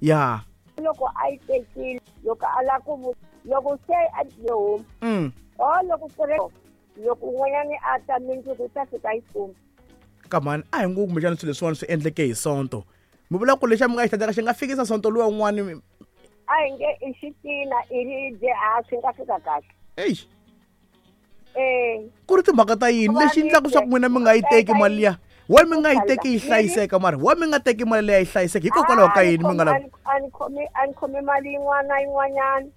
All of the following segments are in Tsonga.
Ya. Loko a yi tekile, loko a lava ku loko se a yi huma. O loko ku ri loko un'wanyani a ta mindzuku u ta fika yi kuma. Kamani a hi ngo kumbexana swilo leswiwani swi endleke hi Sonto. Mi vula ku lexi mi nga xi hlantswaka xi nga fikisa Sonto luwa un'wani. A hi nge i xitina i ribye a swi nga fika kahle. Eish. Eh. Ku ri timhaka ta yini lexi endlaka swa ku n'wina mi nga yi teki mali liya? Why mi nga yi teki yi hlayiseka mara? Why mi nga teki mali liya yi hlayiseka? Hikokwalaho ka yini mi nga lavi? A ni khomi a ni khomi mali yin'wana na yin'wanyana.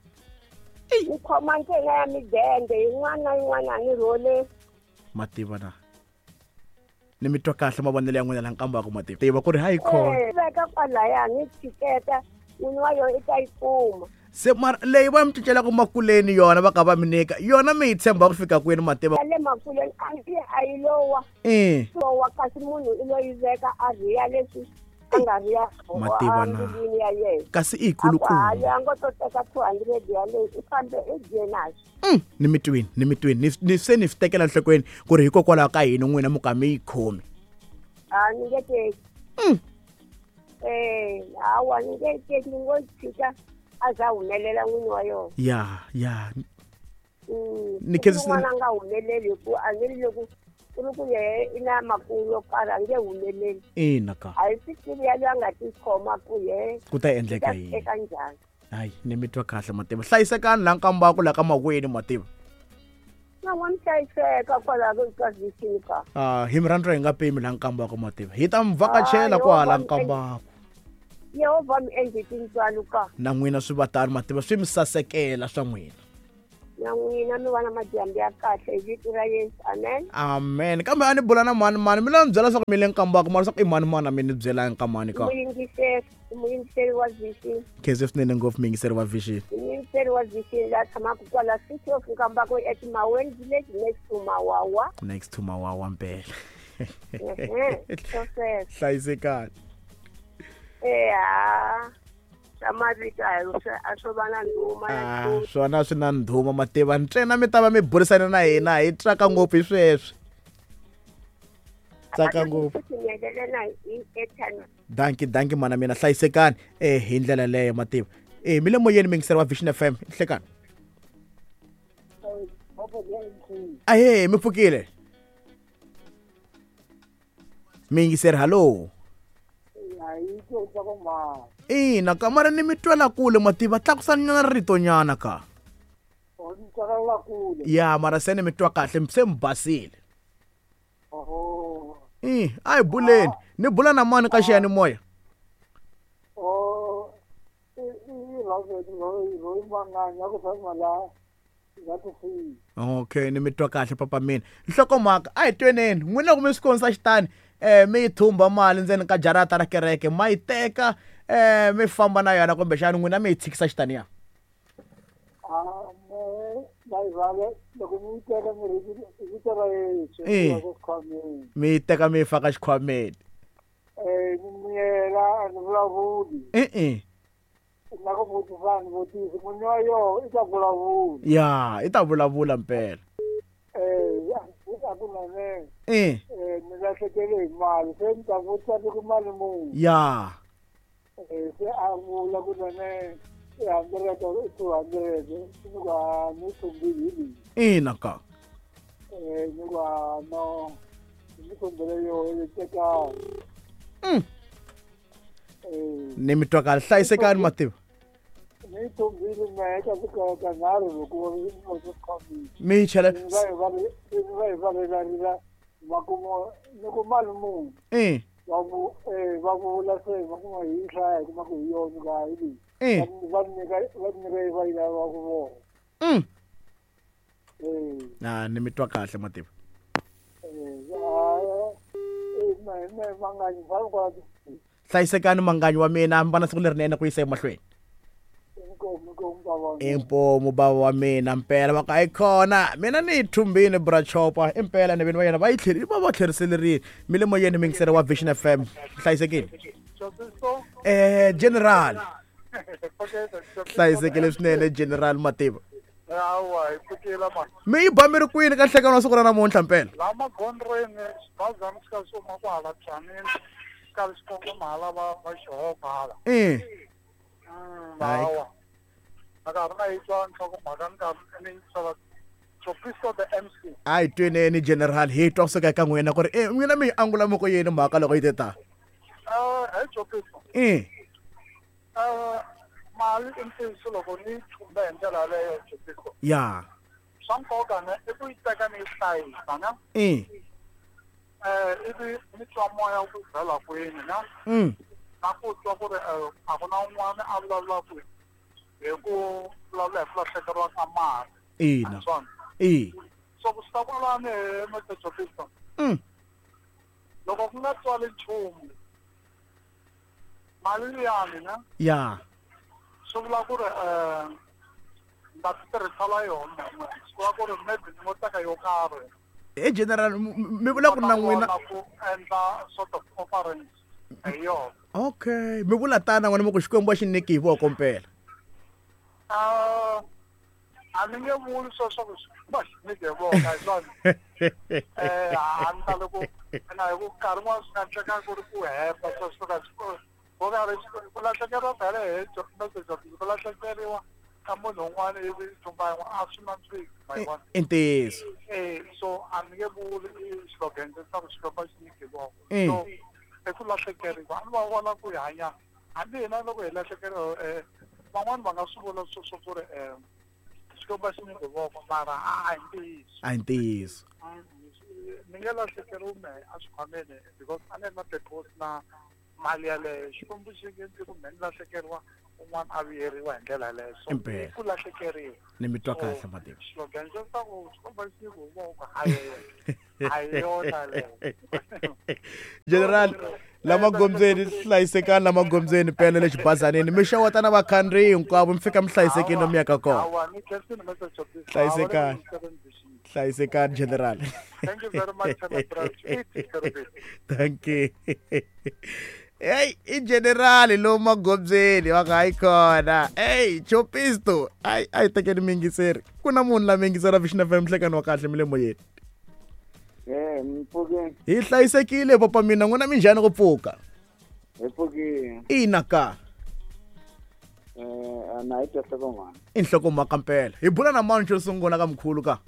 Ni khoma ntsena ya midende yin'wana na yin'wana a ni rhole. Mativa na. Ni mi twa kahle mavonelo ya n'wina la nkambaka mativa. Tiva ku ri hayi khona. Eh, veka kwalaya ni tshiketa n'wini wa yona i ta yi kuma. Se mara leyi va mi cincelaka makuleni yona va ka va mi nyika yona mi yi tshemba ku fika kwini mativa? Ya le makuleni a nge a yi lowa. Eh. Lowa kasi munhu i lo yi veka a rhiya leswi a nga riya Mativa na. embilwini ya yena. Kasi i A ku kulukumba. hayi a ngo to teka 200 yaleyo i fambe i dye naxo. Ni mi twini, ni mi twini. Ni se ni swi tekela enhlokweni ku ri hikokwalaho ka yini n'wina mi ka mi yi khomi. A ni nge teki. Eh, hawa ni nge teki ni ngo tshika a za humelela n'wini wa yona. Ya, ya. Ni Ni khensa a nga humeleli hi ku a ni ri loko ku ri ku yehe i na makungu yo karhi a nge humeleli. Ina ka. A hi swi tivi ya loyi a nga tikhoma ku yehe Ku ta endleka ta yini? teka njhani. Hayi, ni mi twa kahle mativa. Hlayisekani la nkambako la ka makwenu mativa. Na n'wa mi hlayiseka kwalaho ka vision ka. Ah, hi mi rhandza hi nga pimi la nkambako mativa. Hi ta mi vhakachela Ah, kwala Yehovha mi nkambako. Yehovha mi endle tintswalo ka. Na n'wina swi va tano mativa, swi mi sasekela swa n'wina. Na n'wina mi va na madyambu ya kahle hi vito ra Yesu. Amen. Amen. Kambe a ni bula na mani mani, mi la ni byela swa ku mi le nkambako mara swa ku i mani mani a mi ni byela nkamani ka. Muyingiseri, muyingiseri wa vision. Khensa swinene ngopfu muyingiseri wa vision. Muyingiseri wa vision la tshamaka kwala City of Nkambako at Maweni Village next to Mawawa. Next to Mawawa mpela. Ehe, so sweswo. Hlayisekani. Eh, ha. Swa mavito a hi a swo va na ndhuma ya Ah, nchumu. swona swi na ndhuma mativa ntsena mi ta va mi burisana na hina hi tsaka ngopfu hi sweswi. Tsaka ngopfu. Futhi mi endlela hi airtime. Danki danki mana mina hlayisekani eh hi ndlela leyo mativa. Eh mi le moyeni muyingiseri wa Vision FM hlekani. Ahee mi pfukile. Muyingiseri hallo. Ina ka mara ni mi twela kule mativa tlakusani nyana rito nyana ka. Ya mara se ni mi twa kahle se mi basile. Eh a hi buleni ni bula na mani ka xiyanimoya. Okay ni mi twa kahle papa mina. Nhlokomhaka a hi tweneni n'wina loko mi swi konisa xitani mi yi thumba mali ndzeni ka jarata ra kereke ma yi teka mi famba na yona kumbexana n'wina mi yi tshikisa xitani ya. Eh. Mi yi teka mi yi faka xikhwameni. E-e. Ya i ta vulavula mpela. Eh. Ni lahlekele hi mali se ni ta vutisa ni ku mali muni. Ya. Se a vula ku nene i hundred i 200 ni ku a ni thumbile hi leyi. Ina ka. Ni ku a no ni thumbile yo yi tekani. Ni mi twa kahle hlayisekani mativa. Ni thumbile mehe ka ka nharhu loko ni swi khomile. Mi yi chela Va hi va hi va rilarila makumu ni ku mali muni. Eh. Va va vula se va kuma hi hlaya hi kuma ku hi yona ka hi leyi. Eh. Va nyika va nyika va yi lava ku vona. Na ni mi twa kahle mativa. Hlayisekani manganyi wa mina mi va na siku lerinene ku yisa emahlweni. Inkomu bava wa mina mpela va ka yi khona mina ni yi thumbini bra chopa impela ni vini va yena va yi tlheri va va tlheriselerile mi le moyeni muyingiseri wa Vision FM hlayisekile. General hlayisekile swinene General Mativa. Hawa hi pfukile mani. Mi yi ba mi ri kwini ka nhlekani wa siku ra namuntlha mpela? La magondzweni xibazana xi ka xi huma kwahala Tzaneen xi karhi xi kongoma hala va va xihoko hala. Eh. Hawa a ka ha ri na yi twa nhlokomhaka ni karhi ni yingisela Chopisto the MC. A hi tweneni general, hi twa kusuka eka n'wina ku ri e n'wina mi yi angula mi ku yini mhaka loko yi te ta. He Chopisto. Mali i ntiyiso loko ni yi thumbe hi ndlela yaleyo Chopisto. Ya. Swa nkoka ne i ku yi teka ni yi hlayisa ne. Ivi ni twa moya wu bela kwini ne. Na ku twa ku ri a ku na un'wana a vulavulaka hi ku vulavula hi ku lahlekeriwa ka mali. Ina. Swona. So ku suka kwalani he Mr Chopisto. Loko ku nga tswali nchumu mali liyani ne. Ya. Swi vula ku ri ni ta ti tirhisela yona swi vula ku ri maybe ni ngo teka yo karhi. He general mi vula ku ri na n'wina ku endla sort of offerings hi yona. Okay, mi vula tana n'wina mi ku Xikwembu a xi nyiki hi voko mpela. A ni nge vuli sweswo ku Xikwembu a xi nyiki hi voko, hi swona. A ni tali ku na hi ku nkarhi wun'wana swi nga endleka ku ri ku hemba sweswo ka ku nga ri ku lahlekeriwa phela hi message ku lahlekeriwa ka munhu un'wana ivi thumba yin'wana a swi nandziki ma yi vona. I ntiyiso. So a ni nge vuli slogan leswaku Xikwembu a xi nyiki hi voko. So i ku lahlekeriwa a ni va vona ku hi hanya hambi hina loko hi lahlekeriwa van'wani va nga swi vula sweswo ku ri Xikwembu a xi nyiki hi voko mara a hi ntiyiso. A hi ntiyiso. Ni nge lahlekeriwi mehe a xikhwameni because a ni ri na purpose na mali yaleyo. Xikwembu xi nge endli ku mehe ni lahlekeriwa un'wana a vuyeriwa hi ndlela yaleyo. So Impela. ku lahlekeriwa. Ni mi twa kahle mativa. Slogan xo swa ku Xikwembu a xi nyiki hi voko a hi yona yaleyo. General lama gondzweni hlayisekani lama gondzweni pele le xibazanini mi xeweta na vakhandziyi hinkwavo mi fika mi hlayisekile lomu yaka kona. Hlayisekani. Hlayisekani general. Thank you very much, Thank you. Hey, i general lomu magondzweni va nga hayi kona. Hey, Chopisto, ai ai tekeni miyingiseri. Ku na munhu la miyingisela Vision FM nhlekani wa kahle mi le moyeni. Mpfukeni. Hi hlayisekile papa mina, n'wina minjhani ku pfuka? Hi pfukile. Ina ka. Na hi twa nhlokomhaka. I nhlokomhaka mpela. Hi bula na mani xo sungula ka mkhulu ka?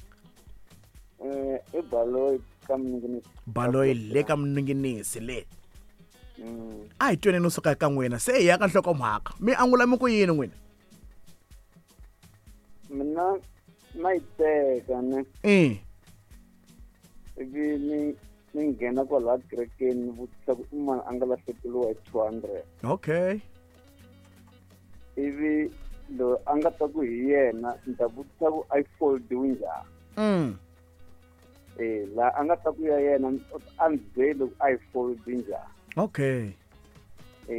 I Baloyi ka Mninginisi. Baloyi le ka Mninginisi le. A hi tweni no suka ka n'wina se hi ya ka nhlokomhaka. Mi angula mi ku yini n'wina? Mina na yi teka ne. Ivi ni nghena kwalaha kerekeni ni vutisa ku i mani a nga lahlekeriwa hi 200. Okay. Ivi loyi a nga ta ku hi yena ni ta vutisa ku a yi foldiwi njhani. Laha a nga ta ku ya yena a ni byeli ku a yi foldi njhani. Okay.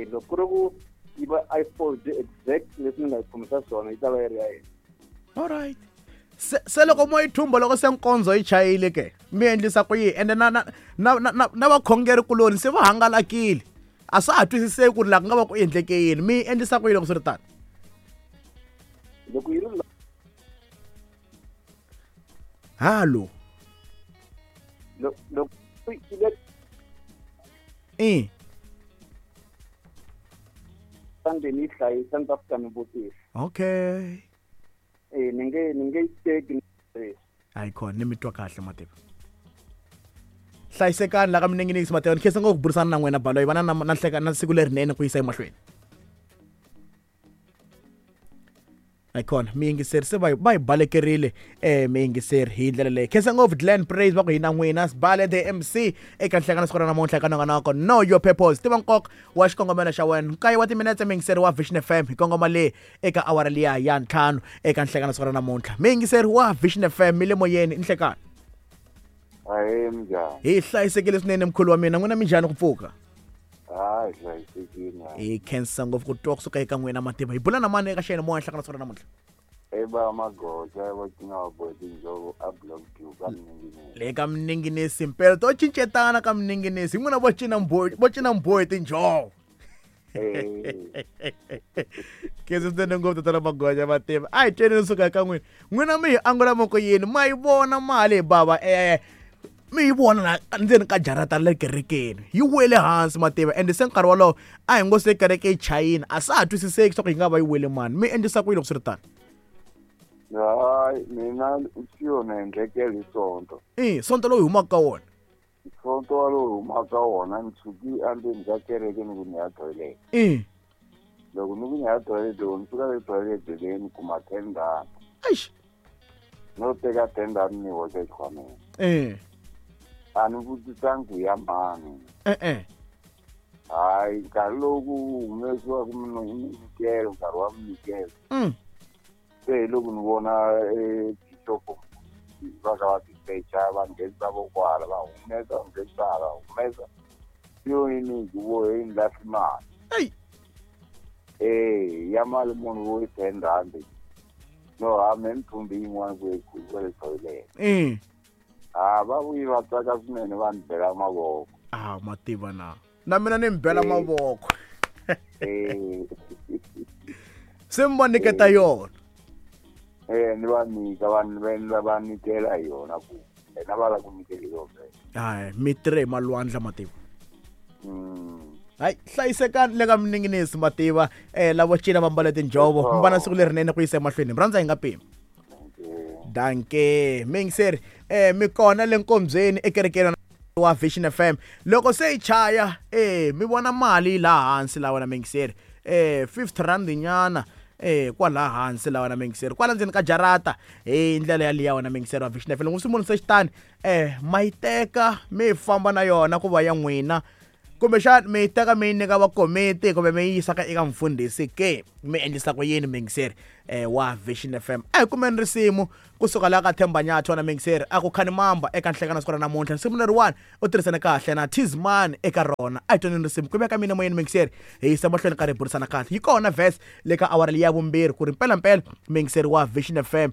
Loko ku ri ku yi va a yi foldi exact leswi ni nga yi khomisa swona yi ta va yi ri ya yena. All right. Se loko mo yi thumba loko se nkondzo yi chayile ke mi endlisa ku yini ende na na na na na vakhongeri kuloni se va hangalakile a swa ha twisiseki ku ri laha ku nga va ku endleke yini mi endlisa ku yini loko swi ri tano? Loko yi ri halo loko ni yi hlayisa ni ta fika ni vutisa. Okay. Ni nge yi teki. Hayi khona ni mi twa kahle mativa. Hlayisekani la ka Mninginisi mativa ni khensa ngopfu ku burisana na n'wina Baloyi va na na nhleka na siku lerinene ku yisa emahlweni. Hayi khona miyingiseri se va yi balekerile miyingiseri hi ndlela leyi. Khensa ngopfu Glen Praise va ku hina n'wina Sibale the MC eka nhlekano siku ra namuntlha eka nongonoko Know Your Purpose. Tiva nkoka wa xikongomelo xa wena. Nkaye wa timinetse miyingiseri wa Vision FM hi kongoma le eka awara liya ya 5 eka nhlekano siku ra namuntlha. Miyingiseri wa Vision FM mi le moyeni nhlekano. Ahee minjhani? Hi hlayisekile swinene mkhulu wa mina, n'wina minjhani ku pfuka? Hayi hlayisekile. Hi khensa ngopfu ku twa kusuka eka n'wina mativa. Hi bula na mani eka xiyeni moya nhlekano siku ra namuntlha? Eba magoja va cina va bohe tinjhovo a block Q ka Mninginisi. Le ka Mninginisi mpela to cincetana ka Mninginisi. N'wina vo cina mbhoyi, vo cina mbhoyi tinjhovo. Khensa swinene ngopfu tatana Magoja mativa. A hi tweni kusuka eka n'wina. N'wina mi hi angula moko yini? Ma yi vona mali hi bava Mi yi vona la ndzeni ka jarata le kerekeni yi wele hansi mativa, ende se nkarhi wolowo a hi ngo se kereke yi chayini, a sa ha twisiseki swa ku yi nga va yi wele mani. Mi endlisa ku yini loko swi ri tano? Hayi, mina swi yona endlekele hi Sonto. I Sonto lowu hi humaka ka wona? Sonto walowu hi humaka ka wona, ni tshuki endzeni ka kereke ni ku ni ya toilet. Loko ni ku ni ya toilet, loko ni fika le toilet leyi ni kuma 10 rand. Eish. No teka 10 rand ni hoxa exikhwameni. A ni vutisangi ku ya mani. Hayi, nkarhi lowu ku humesiwaka minyikelo, nkarhi wa minyikelo. Se hi loko ni vona bishop va ka va tisecha, va nghenisa vokwala, va humesa, va nghenisa, va humesa. Yo yini ku vo hi lahli mali. Ei. Ya mali munhu wo yi 10 rand. No, ha me mthumbi yin'wana ku yi ku le toilet. Va vuyi va tsaka swinene, va ni bela mavoko. Ah, mativa na. Na mina ni mi bela mavoko. Se mi va nyiketa yona. Ni va nyika, va nyikela yona ku. Na va la ku nyikela yona. Hayi, mi tirhe hi malwandla mativa. Hayi, hlayisekani le ka mininginisi mativa. Lavo cina va mbale tinjhovo. Mi va na siku lerinene ku yisa emahlweni. Mi rhandza hi nga pimi. Danke. Mingiseri, mi kona le nkombyeni ekerekeni wa Vision FM. Loko se yi chaya, mi vona mali laha hansi laha wena mingiseri. 50 rand nyana. Kwala hansi laha wena mingiseri. Kwala ndzeni ka jarata hi ndlela ya liya wena mingiseri wa Vision FM. Loko swi munhu se xitani, ma yi teka mi famba na yona ku va ya n'wina. Kumbexana mi yi teka mi yi nyika va komiti kumbe mi yi yisa ka eka mfundhisi ke, mi endlisa ku yini mingiseri wa Vision FM. A hi kumeni risimu kusuka laha ka Themba Nyathi wena mingiseri, a ku khani mamba eka nhlekano siku ra namuntlha. Risimu leriwani u tirhisane kahle na Tizman eka rona. A hi twaneni risimu ku veka mina moyeni mingiseri, hi yisa mahlweni ka ri burisana kahle. Yi kona verse le ka awara leyi ya vumbirhi ku ri mpelampela mingiseri wa Vision FM,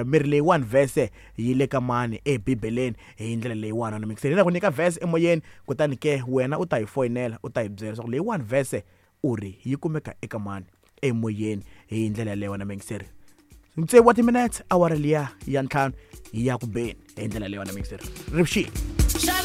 miri leyiwani verse yi le ka mani ebibeleni hi ndlela leyiwani wena mingiseri. Hi la ku nyika verse emoyeni, kutani ke wena u ta hi foyinela u ta hi byela leswaku leyiwani verse u ri yi kumeka eka mani emoyeni hi ndlela yaleyo wena mingiseri. Tsevu wa timinetse awara liya ya 5 yi ya ku beni hi ndlela leyo wena mingiseri. Rivuxini.